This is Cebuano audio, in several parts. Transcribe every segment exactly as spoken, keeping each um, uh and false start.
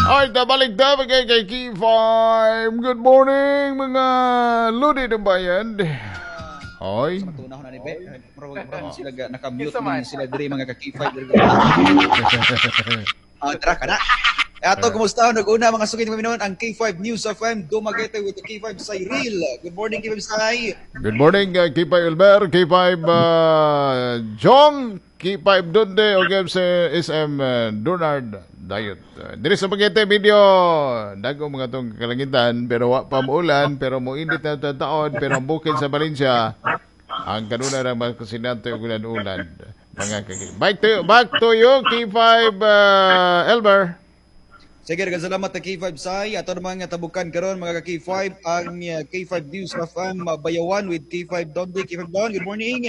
Alright, balik ta kay kay K five. Good morning, mga ludi ng bayan. Hoy. Matunaw na ni Be. Murag murag sila ga naka-mute Kinsa man? Man sila diri, mga ka K five diri. Ah, tara ka na. Ato kumusta nag-una, mga sugid mga ang K five News F M Dumaguete with the K five Cyril. Good morning, K five Sai. Good morning, uh, K five Elmer, K five uh, Jong, K five Dunde, o sa S M uh, Donard Dayot. Uh, diri sa Dumaguete, medyo dago mga tong kalangitan, pero wa pa muulan, pero moinit na taon, pero ang bukid sa Valencia, ang kanuna ng mga kusinante ug ulan-ulan. Mga kaki. Back to you, back to you, K five uh, Elmer. Sige, daghang salamat sa K five Sai. Ato naman nga tabukan karon, mga ka K five, ang uh, K five News F M uh, Bayawan with K five Dondi. K five Don, good morning.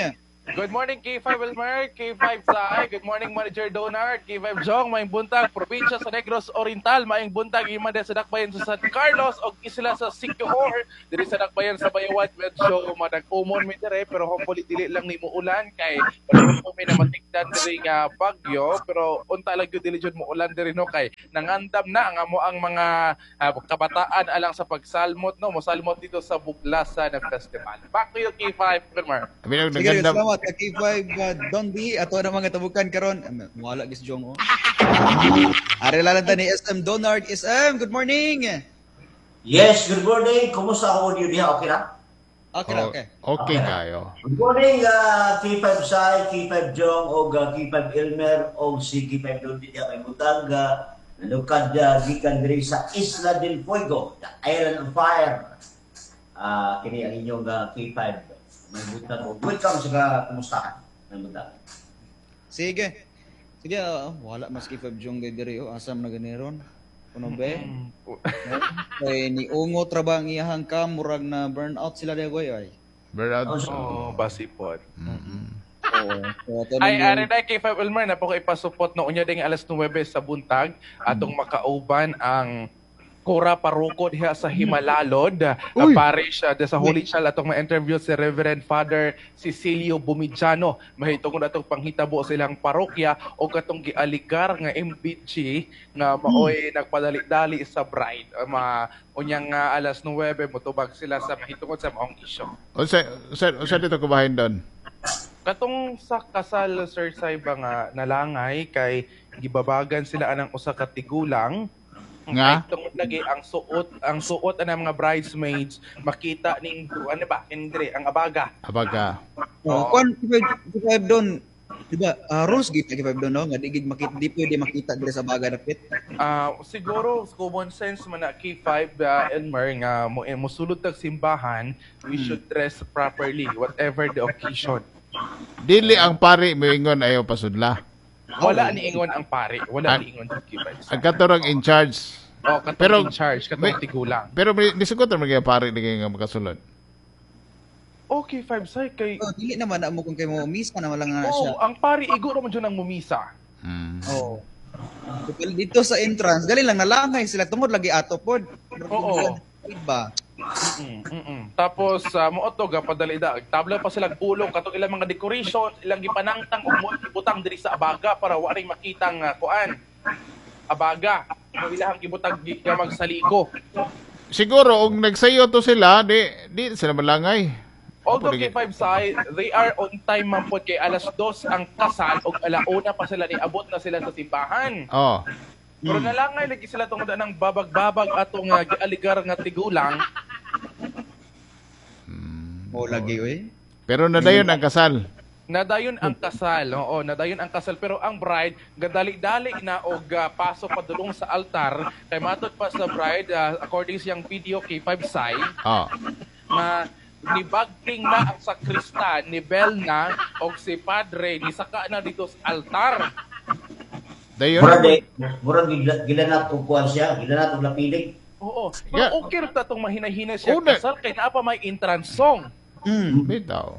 Good morning, K five Wilmer, K five Sai. Good morning, Manager Donard, K five Jong, maayong buntag, probinsya sa Negros Oriental, maayong buntag ima sa dakbayan sa San Carlos og isla sa Siquijor. Diri sa dakbayan sa Bayawan, medyo madag-umon mi dire, pero hopefully dili lang ni muulan kay wala po mi na matigdan diri nga bagyo, pero unta lang gyud dili jud muulan diri, no, kay nangandam na ang amo ang mga ah, kabataan alang sa pagsalmot, no, mosalmot dito sa Buglasan na Festival. Back to you, K five Wilmer. Abi Sige, nagandam. salamat ka K five uh, Dondi. Ato na mga tabukan karon. Um, Wala gis Jong oh. Ari lalan ta ni S M Donard. S M, good morning. Yes, good morning. Kumusta ako audio diha? Okay na? Okay na, okay. Okay kayo. Good morning, uh, K five Sai, K five Jong, og uh, K five Elmer, og si K five Dondi diha kay butang. Uh, nalukad uh, gikan diri sa Isla del Fuego, the Island of Fire. Uh, kini ang inyong uh, K five. May butang og welcome sa kumustahan. May butang. Sige. Sige, uh, wala mas K five Jong kay diri oh. Asam na ganiron. Kuno be? Kay ni ungot ra ba ang iyahang cam, murag na burn out sila dagway ay. Burnout. Oh, basipot. Oo. So, ato Ay, nang- ari na K five Elmer na po ko ipasupot no unya ding alas nuwebe sa buntag atong makauban ang Kura Paroko diha sa Himalalod, uh, Uy! parish uh, sa Holy Child. Atong ma-interview si Reverend Father Cecilio Bumidjano mahitungod atong panghitabo sa ilang parokya o katong gialigar nga M B G nga maoy nagpadali-dali sa bride. Uh, ma unyang nga alas nuwebe motubag sila sa mahitungod sa maong isyu. Unsa unsa unsa dito kubahin doon? Katong sa kasal, Sir Saiba, nga nalangay kay gibabagan sila anang usa ka tigulang. Nga? Kay tungod lagi ang suot ang suot anang mga bridesmaids makita ning ano ba indre ang abaga. Abaga. Oh, kuan K five K five doon. Di ba? Uh, rules gid K five doon no nga di gid makita, di pwede makita diri sa baga dapit. Ah, siguro common sense man na, K five uh, Elmer, nga mo eh, mosulod tag simbahan, we should dress properly whatever the occasion. Dili ang pari moingon ayaw pasudla? Wala ni ingon ang pare, wala Ang- ni ingon sa K five. Ang katorang in charge. Oh, katong Pero- in charge, katong may- tigulang. Pero may nisugot ra mga pari di kay nga makasulod. Okay, five say kay Oh, dili naman na mo kung kay mo misa naman lang nga siya. Oh, ang pari igo ra man jud ang mumisa. Mm. Oh. Dito dito sa entrance, gali lang nalangay sila tungod lagi ato pod. Oo. Ba? Mm, mm, mm. Tapos uh, mo to gapadali da. Tabla pa sila pulong katong ilang mga decoration, ilang gipanangtang og mo ibutang diri sa abaga para wa ring makitang uh, kuan. Abaga. Mo ilahang gibutang gi- gamag saliko. Siguro og nagsayo to sila, di di sila malangay. Although K five side, they are on time man pod kay alas dos ang kasal og alauna pa sila niabot na sila sa simbahan. Oh. Pero nalangay lagi sila tungod ng babag-babag atong uh, gialigar nga tigulang. Mo lagi oy. Pero nadayon ang kasal. Nadayon ang kasal, oo, nadayon ang kasal, pero ang bride gadali-dali na og uh, pasok padulong sa altar kay matod pa sa bride, uh, according siyang video, K five Sai, Oh. nga nibagting na ang sakristan ni bell na og si padre ni saka na dito sa altar. Dayon. Murag di, murag gila- gilanat og kuan siya, gilanat og lapilig. Oo. Pero Yeah. okay ra ta tong mahinahinay siya Una. kasal kay naa pa may entrance song. Mm. Bitaw.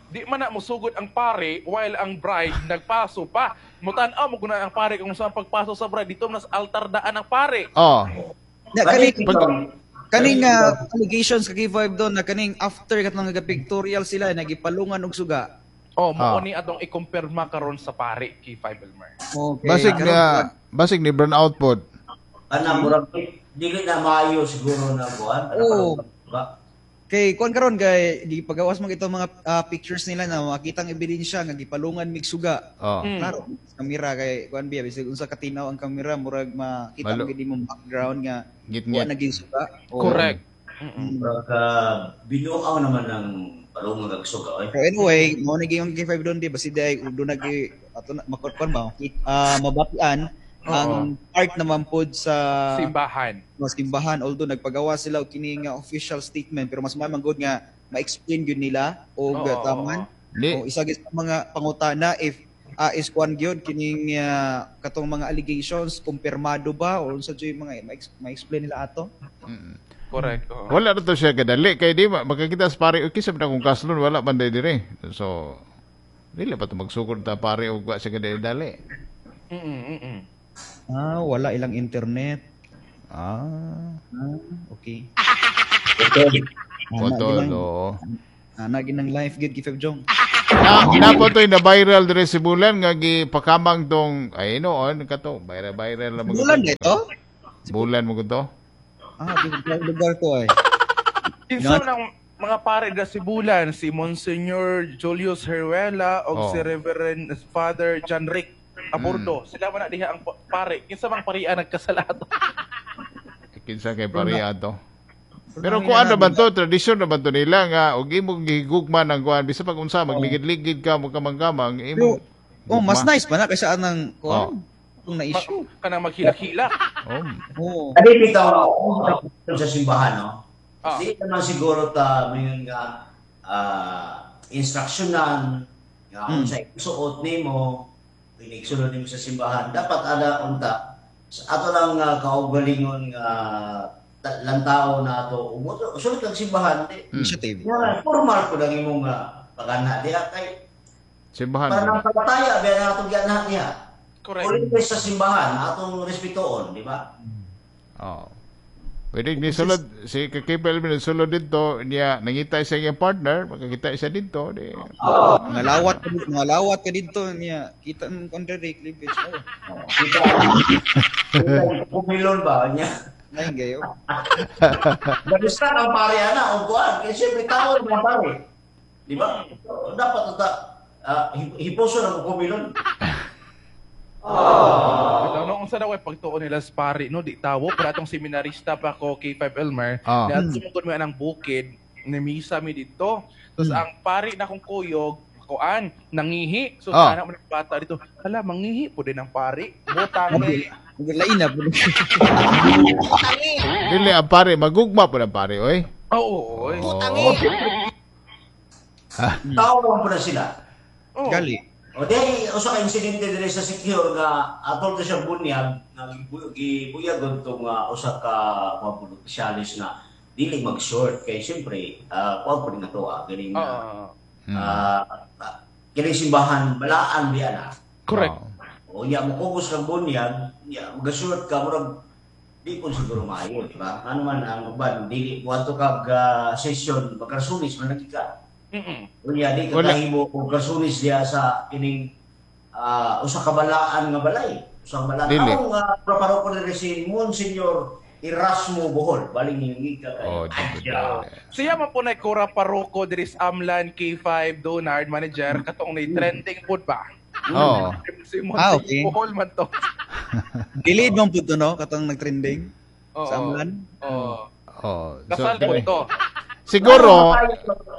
Di man na musugod ang pare while ang bride nagpaso pa. Mutan-aw mo guna ang pare kung saan pagpaso sa bride dito na sa altar daan ang pare. Oh. Na kani Pag- kaning uh, allegations ka K five doon na kaning after katong nga pictorial sila nagipalungan og suga. Oh, mao Ah. ni atong ikumpirma karon sa pare, K five Elmer. Okay. Basig Karon, na basig ni burn out pod. Kana murag dili na maayo siguro na kuan. Oo. Kay kuan karon kay gipagawas man ito mga ah, pictures nila na makita ang ebidensya nga gipalungan mig suga. Oh. Mm. Klaro, sa kamera kay kuan biya bisag unsa katinaw ang kamera murag makita Malo. mo gid imong background nga Ngit-ngit. wa naging suga. Oo. Correct. Mm-mm. Murag uh, binuaw naman ng palungan kag suga oy. Pero anyway, mao ni yung K five doon di basi day do nag ato na makuan ba ah mabatian ang part naman pod sa Simbahan. mga simbahan although nagpagawa sila og kini nga official statement pero mas may good nga ma-explain gyud nila og Oo, taman. Di, O isa gyud sa mga pangutana if ah, is kuan gyud kining ah, katong mga allegations kumpirmado ba o unsa jud yung mga ma-explain nila ato? Mm. Correct. Oo. Wala na to siya kadali kay di ma- makakita sa pare okay sa kung kaslon wala man day dire. So dili pa to magsugod ta pare og wa siya kadali dali. Mm-mm, mm-mm. Ah, wala ilang internet. Ah, Ah, okay. Okay. Ana potol ginang oo. ana ginang life gyud K five Jong. Na napo to'y na viral dire si Bulan nga gipakamang tong ay noon kato viral viral na Bulan dito? Bulan mo to. Ah, di lugar ko ay. Kinsa man ang mga pare da Sibulan, si Monsignor Julius Heruela o Oh. si Reverend Father John Rick Aburdo. Sila man na diha ang pa- pare. Kinsa mang parian nagkasalato? Kinsa kay pare ato. Pero kung ano ba to, tradisyon na ba to nila nga og imong gihigugma ng kuan bisa pag unsa magligid-ligid ka mo kamang-kamang imong Oh, mas gugma. nice pa na kaysa anang Oh. kuan kung na-issue. Kanang maghilak-hilak. Oh. Oh. Kadi bitaw sa simbahan no. Ah. Di naman siguro ta mayon nga ah, instructionan nga Mm. unsa isuot nimo, pinigsulod nimo sa simbahan, dapat ana unta sa ato lang uh, kaugalingon nga ta- lantao na ato umuto sulod kag simbahan di. Initiative. Nga, formal ko lang imong uh, pagana diha kay Simbahan. para mo na. nang palataya biya na atong gianahan niya. Correct. Ulit sa simbahan atong respetuon, di ba? Oh. Pwede ni sulod si Kakipel min sulod dito niya nangita sa iyang partner makakita siya dito di. Mga lawat ka dito, mga lawat ka dito niya. Kita mo kontra Rick Cleavage. Oh. Kita kita pumilon ba niya? Ngayon gayo. Barista ang pare ana o kuan kay siyempre tao ang pare. Di ba? So, dapat ta uh, hiposo ng pumilon. Bitaw no unsa daw ay pagtuo nila sa pare no di tawo pero atong seminarista pa ko K five Elmer Ah. na sumugod mi anang bukid ni misa mi didto. Tapos ang pare na kong kuyog kuan nangihi. So Ah. sa anak mo ng bata dito, hala mangihi po din ang pare. Butang ni Lain na. Dili ang pare magugma po ang pare oy. Oo, oy. Oh. Tao lang po na sila. Oo. Gali. O di usa ka insidente dire sa Secure nga atol to siya bunyag nga gibu- gibuyagon tong uh, usa ka kuan po opisyalis nga dili mag-short kay siyempre uh, kuan po nga to ah ganing Oo. uh, Mm. ah, ah, kining simbahan balaan biya na. Correct. Oh. O nya mo kugos kang bunyag, nya magasuot ka murag di po siguro maayo, di ba? Ano man ang uban dili kuadto kag ah, session magkarsunis man lagi ka. Mm-mm. Unya di ka Wala. kahimo og karsunis diha sa kining ah, usa ka balaan nga balay. Usa ka balaan. Dili. Ang uh, paroko diri si Monsignor Erasmo Bohol, baling hingi ka kay. Oh, di Adya. Siya man po na Cora Paroko diri sa Amlan K five Donard manager katong ni trending pod ba. Oh. Si Ah, Monsignor okay. Bohol man to. Delayed man po to, no? Katong nagtrending. Oo. Sa Amlan. Oo. Oh. So, Kasal po to. siguro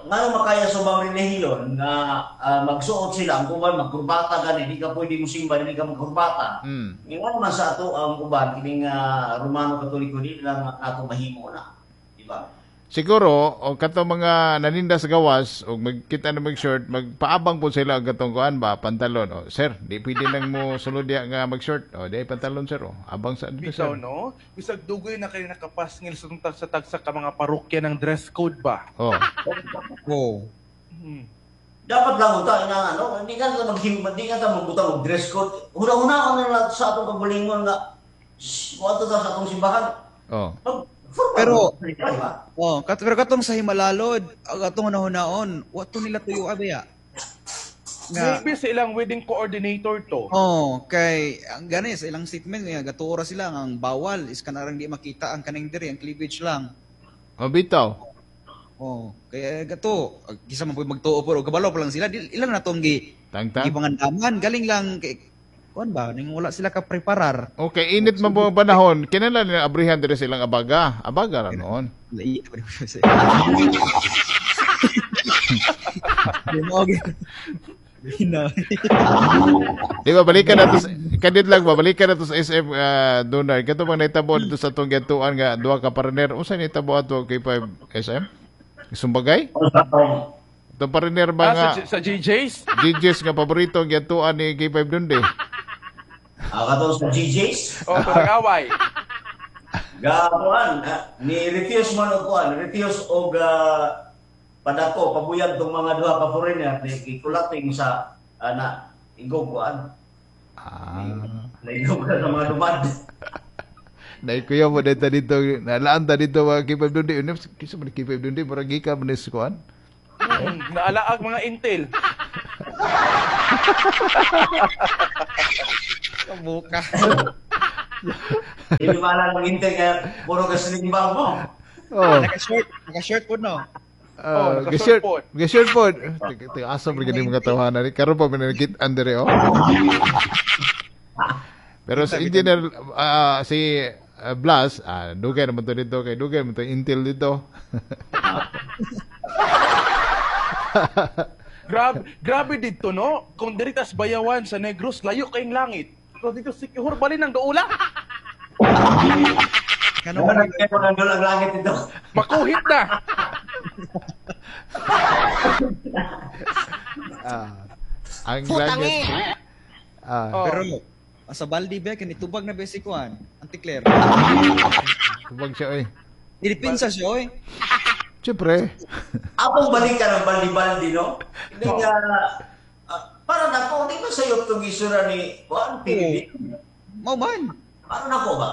Ngano makaya sa ubang relihiyon nga ah, magsuot sila ang uban magkurbata gani di ka pwede mosimba dili ka magkurbata. mm. Nga man sa ato ang uban kining ah, Romano Katoliko dili lang nato mahimo na. Di ba? Siguro o kato mga naninda sa gawas og magkita na mag-short magpaabang po sila og katong kuan ba pantalon o sir di pwede nang mo sulod diha nga mag-short o di pantalon sir o abang sa dito Bitaw sir. no? Bisag dugoy na kayo nakapasngil sa tag sa tagsa ka mga parokya ng dress code ba? Oh. Oh. Hmm. Dapat lang uta ina ano, hindi ka ta maghim, hindi ka ta magbutang og dress code. Huna-huna na lang sa atong kagulingon nga moadto ta sa atong simbahan. Oh. Mag formal Pero- di ba? Oh, kat pero katong sa Himalalod, ang atong nahunaon, wato nila tuyo abaya. Nga, Maybe sa ilang wedding coordinator to. Oh, kay ang gani sa ilang statement nga gatuora sila nga ang bawal is kanarang di makita ang kaning diri ang cleavage lang. Oh, bitaw. Oh, kaya gato kisa man po magtuo pero kabalo pa lang sila di, ilan na tong gi Tangtang. gipangandaman galing lang kay kuan ba ning wala sila ka preparar. Okay, init man po ang panahon. Kinala nila abrihan diri sa ilang abaga. Abaga ra noon. Lai pa rin sa. Di mo Hina. Di ba balikan na to sa, kadit lang ba balikan na to sa S M uh, Donald. Kato bang nahitabo dito sa atong gatuan nga duha ka pariner. Unsa nahitabo ato K five S M? Sumbagay? Itong pariner ba Ah, nga sa, sa G Js? G Js nga paborito ang gatuan ni K five Dunde. Ah, kato sa G Js? O, oh, nag-away. Gatuan, ah, ni refuse man og kuan, refuse og uh, padako pabuyag tong mga duha ka foreigner ni gikulating sa uh, na igog kuan. Ah. Naigog sa mga lumad. Naikuya mo dito dito, nalaan ta dito mga K five Dunde. Kisa man K five Dunde, murag gikan man ni sa kuan. Hmm, naalaag mga intel. Kabuka. Hindi maala ng intel kaya puro ka sling bag mo. Oh. Naka-shirt, naka-shirt po no. Uh, Oh, ga-shirt naka-shirt po. Ga-shirt po. Teka, asa man gani mga tawanan ni karon pa man nakit-an diri oh. Pero sa engineer uh, si uh, Blas, ah, dugay naman to dito kay dugay naman to Intel dito. Grabe, grabe dito no. Kung diri tas Bayawan sa Negros, layo kayong langit. Pero dito si Sikihor balin ang doula. Kano Ano man nang ang langit dito? Makuhit na. Ah, ang langit. Ah, Oh. pero sa baldi ba kini tubag na basic kuan, anti-clear. tubag siya oy. Ilipinsa siya oy. Siyempre. Apong balikan ang baldi-baldi, no? Hindi nga, uh, para nako, di ba sa'yo itong isura ni Juan P B B? Mao man. Para nako ba?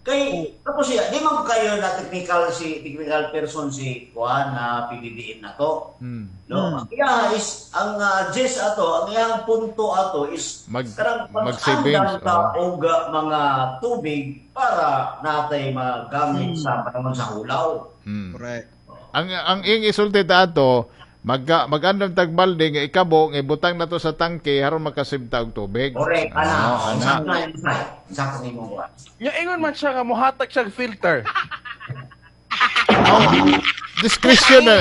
Kay, tapos siya, di man kayo na technical si technical person si Juan na P B B M na to. Hmm. No? Ang iya is, ang uh, gist ato, ang iyang punto ato is Mag- karang mag-savings, pag-andam ta og uh, mga tubig para natay magamit sa panahon sa hulaw. Hmm. Correct. Ang ang iyang isulti ta ato, magka magandam tag balde nga ikabo nga ibutang nato sa tangke aron makasave ta og tubig. Correct, ana. Oh, ana. Sakto na yun, Sai. Sakto ni mong kuwan. Nya ingon man siya nga mohatag siya filter. Oh, discretion na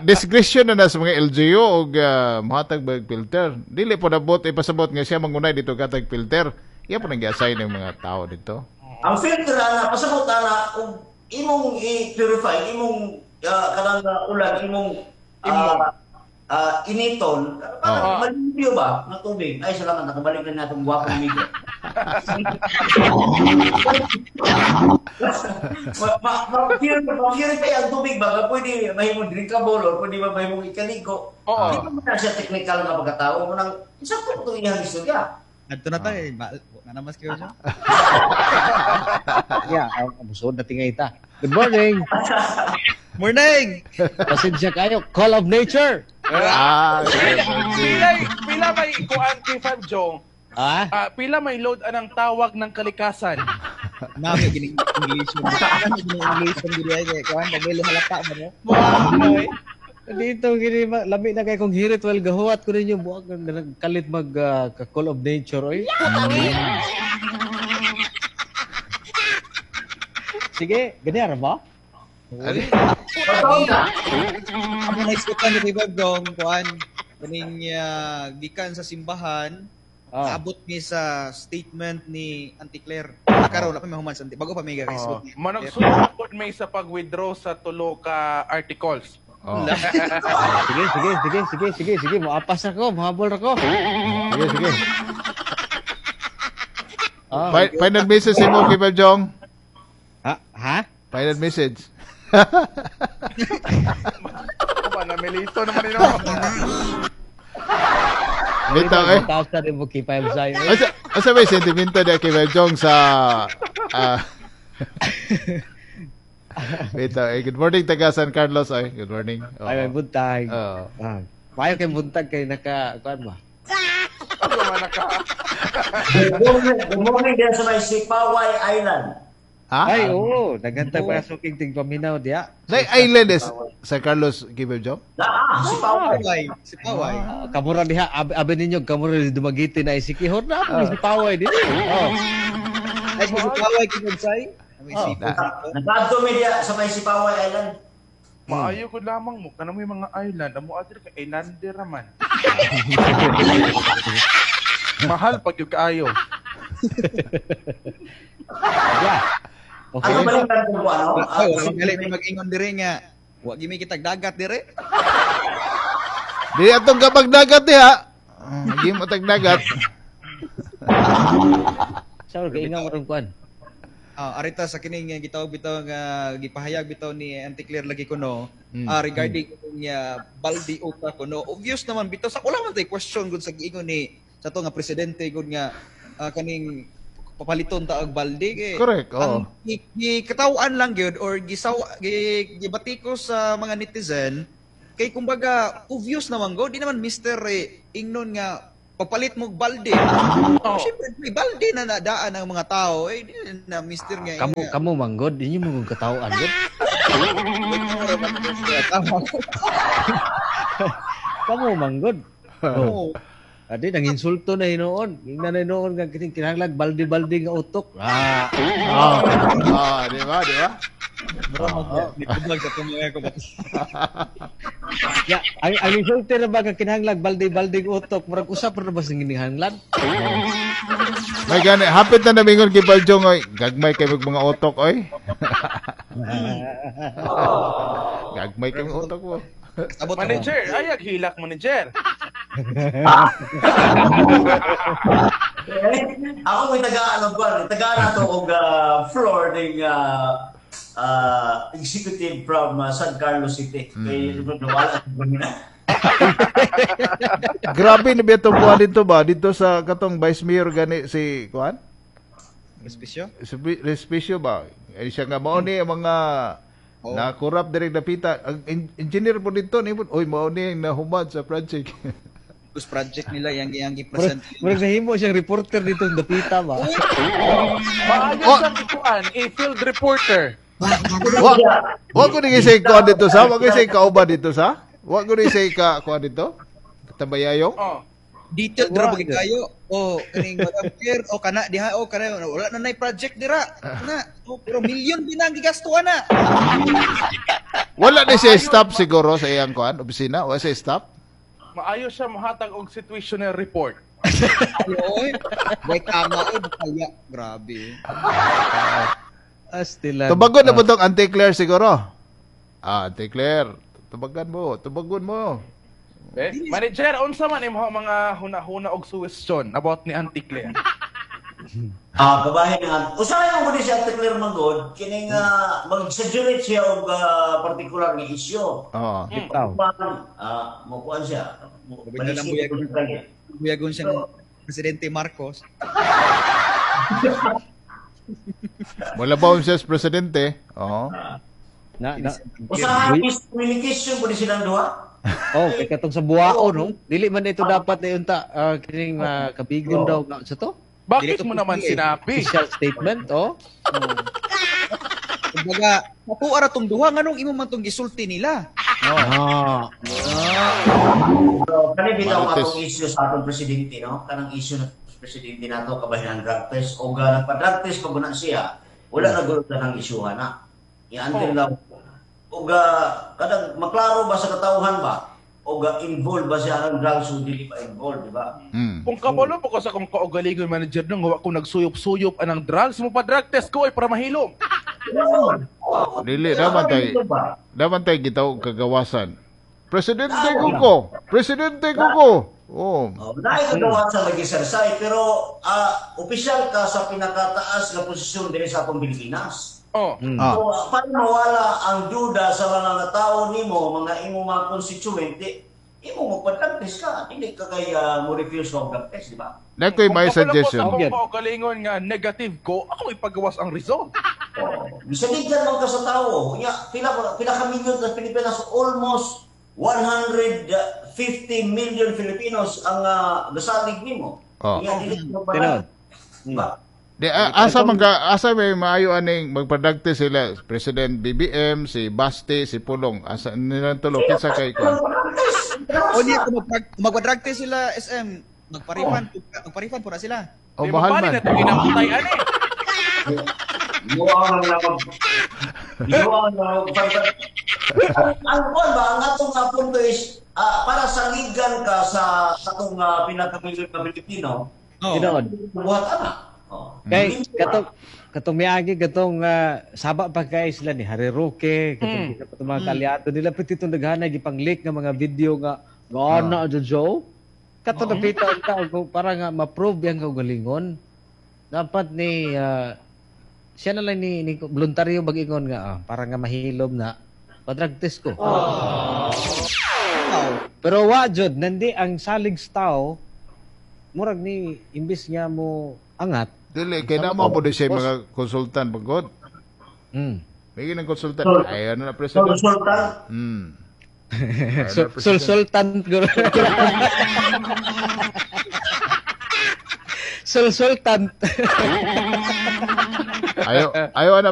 discretion na, na sa mga L G U og uh, mohatag ba og filter. Dili po nabot ipasabot nga siya mangunay dito katag filter. Iya po nang gi-assign ng mga tao dito. Ang filter ana pasabot ana og imong i-purify imong uh, kanang uh, ulan imong uh, uh, initon para Oh. malimpyo ba ng tubig. Ay salamat nakabalik na natong gwapong migo. ma, ma, ma, purify ang tubig ba nga pwede mahimong drinkable or pwede ba mahimong ikaligo. Oo. Di ba man na siya technical nga pagkatao mo nang sakto itong iyang istorya. Adto na tayo, ma- na namas kayo siya. Yeah, ang busod na tingay ta. Good morning. Morning. Pasensya kayo. Call of nature. Ah, Pila pila may kuan K five Jong. Ah? Ah, pila may load anang tawag ng kalikasan. Nami gining English mo. Nami gining English mo diri ay kuan dagili halata mo no. Buang. Dito gini lami na kay kung hirit well gahuwat ko ninyo buag nagkalit mag uh, call of nature oy. Sige, ganyan ra ba? Totoo na. Amo na iskutan ni K five Dong kuan kaning uh, gikan sa simbahan Ah. Abot mi sa statement ni Auntie Claire. Karon wala pa may human sa Auntie. Bago pa may ga-Facebook. Oh. Managsulod pod may sa pag-withdraw sa tulo ka articles. Oh. Sige, sige, sige, sige, sige, sige, moapas ako, mohabol ako. Sige, sige. Ah. Fi- Final message mo, K five Jong. Ha? Ha? Final message. Ako ba, namilito naman yun. Bitaw eh. Taas na rin mo K five Zay. Asa, asa may sentimento niya kay Five Jong sa ah Bitaw eh. Good morning taga San Carlos ay. Good morning. Oo. Ay, may buntag. Oo. Ah. Payo kay buntag kay naka kuan ba? Ano man ka? Good morning, good morning din sa may Sipaway Island. Ha? Ay, oo, daghan tag pasuking ting paminaw diya. Nay island is San Carlos K five Jong? Ah, Sipaway. Paway, si Paway. Ah, kamura diha abi, abi ninyo kamura di Dumaguete na Sikihor na ako si Paway dinhi. Oh. Ay, si Paway kinunsay. May Oh. sipon. Nakaadto mi diya sa may Sipaway Island. Maayo ko lamang mo kanang may mga island, amo adri ka islander raman. Mahal pag yung kaayo. Yeah. Okay. Ano balikan ko ano? Ay, wala gali may mag-ingon dire nga. Wa gimi kitag dagat dire. Di atong kapag dagat diha. Ah, Di mo tag dagat. Sa kaingaw ron kuan. Ah, arita sa kining nga gitawag bitaw nga gipahayag bitaw ni Auntie Claire lagi kuno ah, regarding niya baldi uta kuno. Obvious naman bitaw sa wala man tay question gud sa giingon ni sa to nga presidente gud nga ah, kaning papaliton ta og balde kay. Correct, oo. Ang gi- gikatawan lang gyud or gisaw gi, gibatiko sa mga netizen kay kumbaga obvious naman go di naman mister eh, ingnon nga papalit mo og balde. Oh. Siyempre may balde na nadaan ang mga tao eh di na mister nga Kamu kamu manggod inyo mo kung katawaan gud. Tama. Kamu manggod. Oh. Oo. Adi nang insulto na hinuon. Ingnan na hinuon nga kining kinahanglan baldi-baldi nga utok. Ah. Ah, ah, di ba? Di ba? Nitubag sa tumaya ko. Ya, ang ang insulto na ba nga kinahanglan baldi-baldi nga utok? Murag usap ra ba sa kinahanglan? May gani, hapit na namingon kay Baljong oy. Gagmay kay mag mga utok oy. Gagmay kay mga utok mo. Abot ako. Manager, ayag hilak manager. Ako may tagaan og kwan, tagaan ato og ah, floor ning ah, ah, executive from ah, San Carlos City. Kay nawala sa na. Grabe na ba itong kuwan dito ba? Dito sa katong Vice Mayor gani si kuan? Respisyo? Si Respisio ba? Eh, siya nga mao ni ang mga Oo. na corrupt direct napita. Ang en- engineer po dito ni oy mao ni ang nahumad sa project. Tapos project nila yang yang gi-present. Murag nahimo siyang reporter dito sa dapita ba? Maayo Oh. siyang ikuan, a field reporter. Wa wa ko ni say kuan dito sa, wa ko say kauban dito sa. Wa ko ni say ka kuan dito. Tambayayong. Oh. Detailed ra ba kayo? O kaning Madam Claire o kana diha o kana wala na nay project dira. Na, o, pero milyon din ang gigastuhan na. Wala ni siya stop siguro sa iyang kuan opisina, wala siya stop. Maayo siya mohatag og situational report. Ay, oy. Way tama oy kaya grabe. Astilan. Tubagon na po tong Auntie Claire siguro. Ah, Auntie Claire, tubagan mo, tubagon mo. Eh, manager, unsa man imong mga huna-huna og suwestyon about ni Auntie Claire? Ah, kabahin nga. Usahay mo gud si Ate Claire Manggod kining ah, mag-exaggerate siya og ah, particular nga issue. Oo. Bitaw. Ah, mo kuan siya. Mo- Sabi na lang, balisik buyag. ko kanya. Buyagon siyang Presidente Marcos. Wala ba siya sa presidente? Oo. Na, na. Usahay miscommunication pud silang duha. Oh, kay katong sa buwaon no. Dili man ito dapat na unta ah, kining uh, kabigon daw na sa to. Bakit Dili to mo naman pwede. sinabi? Official statement, oh. Kumbaga, nakuha ra tong duha nganong imo man tong gisulti nila. Ah. So, kani bitaw Marites. atong issue sa atong presidente no, kanang issue na presidente nato kabahin ang drug test o ga nagpa-drug test pag una siya, wala na gud ng isyuhan na. Iantin lang o ga kadang maklaro ba sa katawhan ba o ga involved ba siya ang drugs o dili ba involved, di ba? Mm. Kung kabalo po ko sa kong kaugalingon manager nung wa ko nagsuyop-suyop anang drugs mo pa drug test ko ay para mahilom. Dili naman tay. Daman tay gitaw kagawasan. Presidente ko ko. Presidente ko ko. Oh. Oh, naay kagawasan lagi sir Sai, pero ah, opisyal ka sa pinakataas nga posisyon diri sa atong Pilipinas. Oh. Ah. So, para mawala ang duda sa mga tao nimo, mga imo mga constituent, di, imo mo drug test ka, dili ka kay ah, mo refuse og drug test, di ba? Nakoy may Kung kabalo po sa suggestion. akong kaugalingon nga negative ko, ako ipagawas ang result. Oh, bisan man ka sa tao, nya pila pila ka milyon sa Pilipinas, almost one hundred fifty fifty million Filipinos ang uh, gasalig nimo. Oh. Nga dili mo Tinuod. ba? Ba? Di, a- asa man ka, asa may maayo aning magpa-drug test sila President B B M, si Basti, si Pulong. Asa nila tulo, kinsa kay ko? O niya kung magpa- magpa-drug test sila, S M, magpa-refund, magpa-refund po na sila. O Di mahal mabali man. na ito ginamatay ani. Ginuwa lang na mag Ginuwa lang na mag ang ang kuwan ba, ang atong uh, punto is ah, para saligan ka sa atong uh, pinakamilyon na Pilipino, Oh. Tinuod. buhat ana. Oh. Kay katong katong miagi katong ah, saba pa kay sila ni Harry Roque, katong mm. katong mga kaalyado nila, pati itong daghanay gipang-leak nga mga video nga nga Jojo. Kato oh. napita ang tao kung para nga ma-prove yang kaugalingon. Dapat ni ah, siya na lang ni, ni voluntaryo mag-ingon nga ah, para nga mahilom na pa-drug test ko. Wow. Pero wa jud nandi ang salig sa tao, murag ni imbis nga mo angat. Dili kay na mo po siya mga consultant pagod. Mm. May ginang consultant. Sol- Ay ano na president. Consultant, Hmm. Sul sul sultan guro. Sul sultan. Ayo ayo ana.